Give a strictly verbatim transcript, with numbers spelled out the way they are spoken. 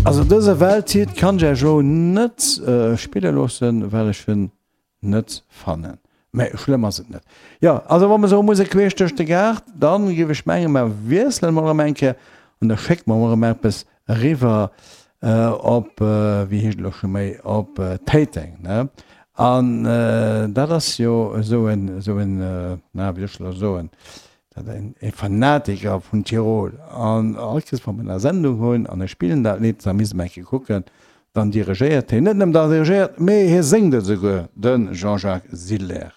Also dëse Welthit kann ech iech elo net spille loossen, well ech en net fannen. Mä schlëmm ass et net. Jo, also wa mer soe Musek queesch duerch de Gaart, dann géif ech mengen, mer wiesselen mol erëm eng Kéier an da schécke mer mol erëm eppes eriwwer op, wéi heescht et elo scho méi, op Téiteng, ne? An dat ass jo esou en, esou en, na, wéi soll ech elo soen, dat en e Fanatiker vun Tirol. An all Kees, wa mer eng Sendung hunn an ech spillen dat Lidd, da misst mer eng Kéier kucken, dann dirigéiert hien, net nëmmen dirigéiert, mee hie séngt et esouguer, de Jean-Jacques Siller.